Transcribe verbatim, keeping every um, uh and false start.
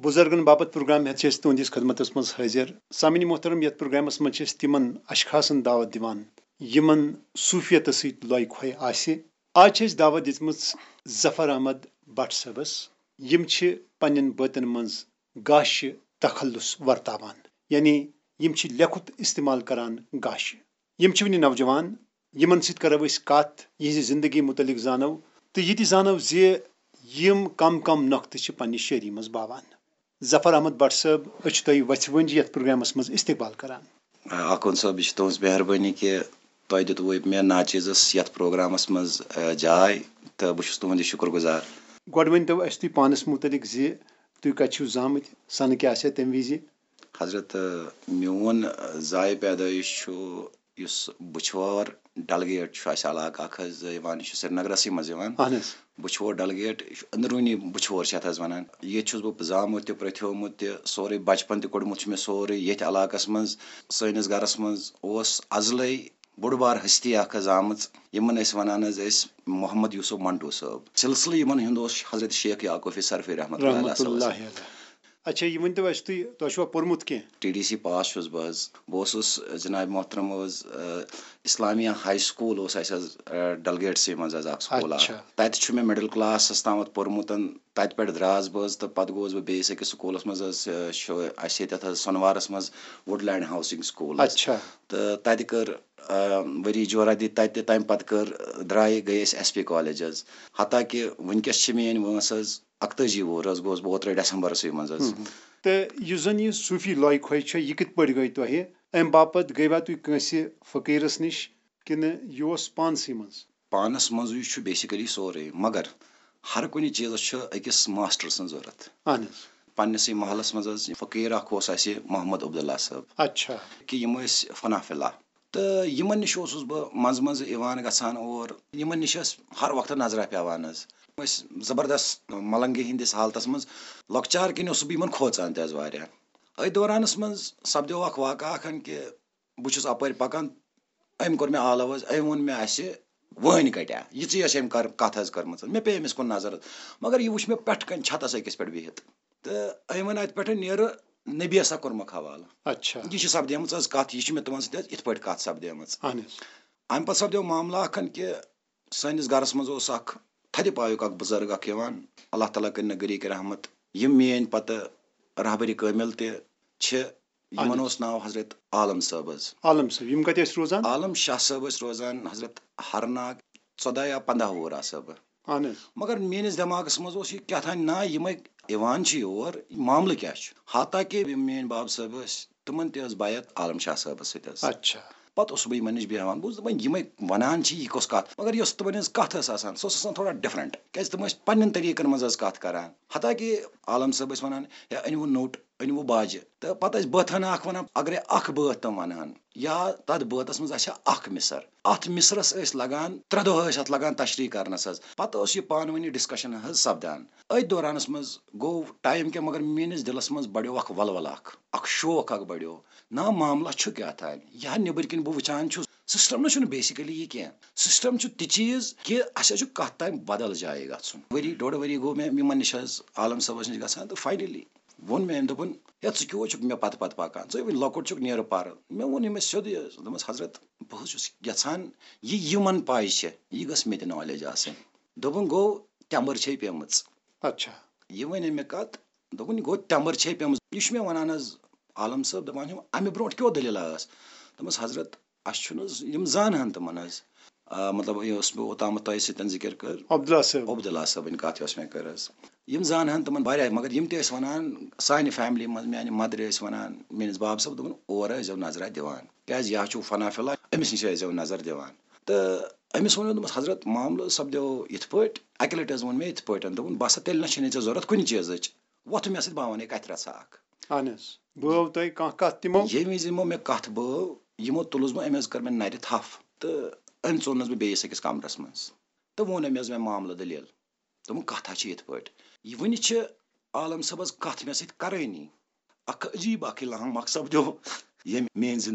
بُزرگن باپتھ پروگرام ہٮ۪تھ چھِ أسۍ تُہنٛدِس خدمتس منٛز حٲضِر۔ سامعیٖن محترم، یتھ پروگرامس منٛز چھِ أسۍ تِمن اشخاصن دعوت دِوان، یِمن صوفیتس سۭتۍ لۄے کھۄے آسہِ۔ آز چھِ أسۍ دعوت دِژمٕژ ظفر احمد بٹ صٲبس۔ یِم چھِ پننٮ۪ن بٲتن منٛز گاشہِ تخلص ورتاوان، یعنی یِم چھِ لیٚکھُت استعمال کران گاشہِ۔ یِم چھِ وُنہِ نوجوان، یِمن سۭتۍ کرو أسۍ کتھ، یِہنٛزِ زندگی متعلق زانو، تہٕ یہِ تہِ زانو زِ یِم کم کم نۄقطہٕ چھِ پننہِ شٲعری منٛز باوان۔ ظفر احمد بٹ صٲب، أسۍ چھِ تۄہہِ وژھِ وٲنٛجہِ یتھ پروگرامس منٛز استقبال کران۔ آ، آخوند صٲب، یہِ چھِ تُہٕنٛز مہربٲنی کہِ تۄہہِ دیُتوٕ مےٚ ناچیزس یتھ پروگرامس منٛز، آ، جاے، تہٕ بہٕ چھُس تُہُنٛد یہِ شُکر گُزار۔ گۄڈٕ ؤنۍ تو اَسہِ تُہۍ پانس مُتعلق زِ تُہۍ کتہِ چھِو زامٕتۍ، سنہٕ کیٛاہ آسہِ تمہِ وِزِ؟ حضرت، آ، میون، آ، زایہِ پیدٲیِش چھُ یُس بُچھور ڈلگیٹ چھُ اَسہِ علاقہٕ اکھ حظ یِوان، یہِ چھُ سرینگرسٕے منٛز یِوان۔ اہن حظ۔ بُچھور ڈلگیٹ، یہِ چھُ أنٛدروٗنی بُچھور چھِ اَتھ حظ وَنان۔ ییٚتہِ چھُس بہٕ زامُت تہِ، پرٛتھیومُت تہِ، سورُے بچپن تہِ کوٚڑمُت چھُ مےٚ سورُے ییٚتھۍ علاقس منٛز۔ سٲنِس گرس منٛز اوس ازلے بوٚڑ بار ہستی اکھ حظ آمٕژ، یِمن ٲسۍ وَنان حظ أسۍ محمد یوسف منٹو صٲب۔ سلسلہٕ یِمن ہُنٛد اوس حضرت شیخ یعقوب صرفی رحمت اللہ علیہ رحمتہ صٲبس۔ اللہ علیہ۔ اچھا، یہِ ؤنۍ تو اَسہِ تُہۍ، تۄہہِ چھُوا پوٚرمُت کینٛہہ؟ ٹی ڈی سی پاس چھُس بہٕ حظ۔ بہٕ اوسُس جناب محترم حظ، آ، اسلامیہ ہاے سکول اوس اَسہِ حظ، آ، ڈلگیٹسٕے منٛز حظ اکھ سکول اکھ۔ اچھا۔ تَتہِ چھُ مےٚ مڈل کلاسس تامَتھ پوٚرمُت۔ تَتہِ پٮ۪ٹھ درٛاس بہٕ حظ تہٕ پتہٕ گوس بہٕ بیٚیِس أکِس سکولس منٛز حظ، آ، چھُ اَسہِ ییٚتٮ۪تھ حظ سۄنوارس منٛز وُڈ لینڈ ہاوسنگ سکول حظ۔ اچھا۔ تہٕ تَتہِ کٔر، آ، ؤری جورا دِتۍ تَتہِ تہِ، تَمہِ پتہٕ کٔر، درٛایہِ، گٔے أسۍ ایس پی کالج حظ۔ حتیٰ کہِ وٕنکیٚس چھِ میٲنۍ وٲنٛس حظ اَکتٲجی وُہُر حظ گوس بہٕ اوترَے ڈسمبرسٕے منٛز حظ۔ ہم۔ تہٕ یُس زَن یہِ صوٗفی لۄے کھۄے چھےٚ، یہِ کِتھ پٲٹھۍ گٔے تۄہہِ؟ اَمہِ باپتھ گٔیوا تُہۍ کٲنٛسہِ فقیٖرَس نِش کِنہٕ یہِ اوس پانسٕے منٛز؟ پانَس منٛزٕے چھُ basically سورُے، مگر ہر کُنہِ چیٖزَس چھُ أکِس ماسٹر سٕنٛز ضوٚرَتھ۔ اَہَن حظ۔ پننِسٕے محلَس منٛز حظ فقیٖر اَکھ اوس اَسہِ محمد عبداللہ صٲب۔ اچھا۔ کہِ یِم ٲسۍ فنا فِلا۔ تہٕ یِمن نِش اوسُس بہٕ منٛزٕ منٛزٕ یِوان گژھان اور۔ یِمن نِش ٲس ہر وقتہٕ نظرہ پٮ۪وان حظ۔ یِم ٲسۍ زبردست ملنگی ہٕنٛدِس حالتس منٛز۔ لۄکچار کِنۍ اوسُس بہٕ یِمن کھوژان تہِ حظ واریاہ۔ أتھۍ دورانس منٛز سپدیو اکھ واقعہ اکھ ہن کہِ بہٕ چھُس اپٲرۍ پکان، أمۍ کوٚر مےٚ آلو حظ، أمۍ ووٚن مےٚ اَسہِ وٲنۍ کٹیا، یِژٕے ٲس أمۍ کر-، کتھ حظ کٔرمٕژ۔ مےٚ پیٚیہِ أمِس کُن نظر، مگر یہِ وُچھ مےٚ پٮ۪ٹھٕ کنہِ چھتس أکِس پٮ۪ٹھ بِہِتھ۔ تہٕ أمۍ ووٚن، اتہِ پٮ۪ٹھ نیرٕ نبی ہسا کوٚرمکھ حوالہٕ۔ اچھا۔ یہِ چھِ سپدیمٕژ حظ کتھ، یہِ چھِ مےٚ تِمن سۭتۍ حظ یِتھ پٲٹھۍ کتھ سپدیمٕژ۔ اہن حظ۔ امہِ پتہٕ سپدیو معاملہٕ اکھ ہن کہِ سٲنِس گرس منٛز اوس اکھ تھدِ پایُک اکھ بُزرگ اکھ یِوان، اللہ تعالیٰ کٔرِنۍ غریٖق رحمت۔ یِم میٲنۍ پتہٕ رہبرِ کٲمل تہِ چھِ، یِمن اہن حظ۔ اوس ناو حضرت عالم صٲب حظ۔ عالم صٲب، یِم کتہِ ٲسۍ روزان؟ عالم شاہ صٲب ٲسۍ روزان حضرت ہرناگ، ژۄداہ یا پنٛداہ وُہُر آسہٕ بہٕ۔ اہن حظ۔ مگر میٲنِس دٮ۪ماغس منٛز اوس یہِ کیٛاہ تام نا، یِمے یِوان چھِ یور، یہِ معاملہٕ کیٛاہ چھُ؟ حتیٰ کہِ یِم میٲنۍ باب صٲب ٲسۍ، تِمن تہِ ٲس بیعت عالم شاہ صٲبس سۭتۍ حظ۔ اچھا۔ پتہٕ اوسُس بہٕ یِمن نِش بیٚہوان، بہٕ اوسُس دپان، یِمے ونان چھِ، یہِ کۄس کتھ؟ مگر یۄس تِمن ہٕنٛز کتھ ٲس آسان، سۄ ٲس آسان تھوڑا different، کیازِ تِم ٲسۍ پننٮ۪ن طریٖقن منٛز حظ کتھ کران۔ حتیٰ کہِ عالم صٲب ٲسۍ ونان، ہے، أنِو نوٚٹ، أنِو باجہِ۔ تہٕ پتہٕ ٲسۍ بٲتھانہ اکھ ونان، اگرے اکھ بٲتھ تِم ونہٕ ہن یا تتھ بٲتس منٛز آسہِ ہا اکھ مِصر، اتھ مِصرس ٲسۍ لگان ترٛےٚ دۄہ، ٲسۍ اتھ لگان تشریح کرنس حظ۔ پتہٕ ٲس یہِ پانہٕ ؤنی discussion حظ سپدان۔ أتھۍ دورانس منٛز گوٚو time کینٛہہ، مگر میٲنِس دِلس منٛز بڑیو اکھ ولولہٕ اکھ، اکھ شوق اکھ بڑیو۔ نا، معاملہ چھُ کیٛاہ تام؟ یہِ ہا نیٚبٕرۍ کِنۍ بہٕ وٕچھان چھُس، system نہ چھُنہٕ basically یہِ کینٛہہ۔ System چھُ تہِ چیٖز کہِ اَسہِ حظ چھُ کَتھ تام بدل جایہِ گژھُن۔ ؤری ڈۄڈ ؤری گوٚو مےٚ یِمن نِش حظ، عالم صٲبس نِش گژھان، تہٕ finally ووٚن مےٚ أمۍ، دوٚپُن، ہے، ژٕ کیٛوہ چھُکھ مےٚ پتہٕ پتہٕ پکان؟ ژٕ ہے وٕنہِ لۄکُٹ چھُکھ، نیرٕ پرٕ۔ مےٚ ووٚن أمِس سیوٚدُے حظ، دوٚپمَس، حضرت، بہٕ حظ چھُس یژھان، یہِ یِمن پاے چھےٚ، یہِ گٔژھ مےٚ تہِ knowledge آسٕنۍ۔ دوٚپُن، گوٚو، ٹٮ۪مبٕر چھے پیمٕژ۔ اچھا۔ یہِ وَنے مےٚ کَتھ، دوٚپُن، یہِ گوٚو ٹٮ۪مبٕر چھے پیمٕژ۔ یہِ چھُ مےٚ وَنان حظ عالم صٲب، دَپان چھُم، اَمہِ برونٛٹھ کیٛاہ دٔلیٖلہ ٲس؟ دوٚپمَس، حضرت، اَسہِ چھُنہٕ حظ یِم زانہٕ ہَن تِمَن حظ۔ آ، مطلب، یہِ اوس مےٚ اوٚتامَتھ تۄہہِ سۭتۍ ذِکِر کٔر۔ عبداللہ صٲب۔ عبداللہ صٲبٕنۍ کَتھ یۄس مےٚ کٔر حظ۔ یِم زانہٕ ہَن تِمَن واریاہ، مگر یِم تہِ ٲسۍ وَنان، سانہِ family منٛز میٛانہِ motherِ ٲسۍ وَنان، میٛٲنِس بابہٕ صٲب، دوٚپُن، اور ٲسۍزیو نظرہ دِوان، کیٛازِ یہِ حظ چھُو فنا فِلا، أمِس نِش ٲسۍزیو نظر دِوان۔ تہٕ أمِس ووٚن مےٚ، دوٚپمَس، حضرت، معاملہٕ سپدیو یِتھ پٲٹھۍ، اَکہِ لَٹہِ حظ ووٚن مےٚ یِتھ پٲٹھۍ، دوٚپُن، بَس سا، تیٚلہِ نہ چھِنہٕ ژےٚ ضوٚرَتھ کُنہِ چیٖزٕچ، وۄتھ مےٚ سۭتۍ، بہٕ وَنَے کَتھِ رَژھا اَکھ۔ اہن حظ۔ بٲو تۄہہِ کانٛہہ کَتھ تِمو؟ ییٚمہِ وِزِ یِمو مےٚ کَتھ بٲو، یِمو تُلُس بہٕ، أمۍ حظ کٔر مےٚ نَرِ تھَپھ تہٕ أمۍ ژوٚننَس بہٕ بیٚیِس أکِس کَمرَس منٛز تہٕ ووٚن أمۍ حظ مےٚ معاملہٕ دٔلیٖل۔ دوٚپُن، کَتھ ہا چھِ یِتھ پٲٹھۍ، یہِ وٕنہِ چھِ عالم صٲبَس کَتھ مےٚ سۭتۍ کَرٲنی۔ اَکھ عجیٖب اَکھ الہام اَکھ سَپدیو، ییٚمۍ میٛٲنۍ زِندگی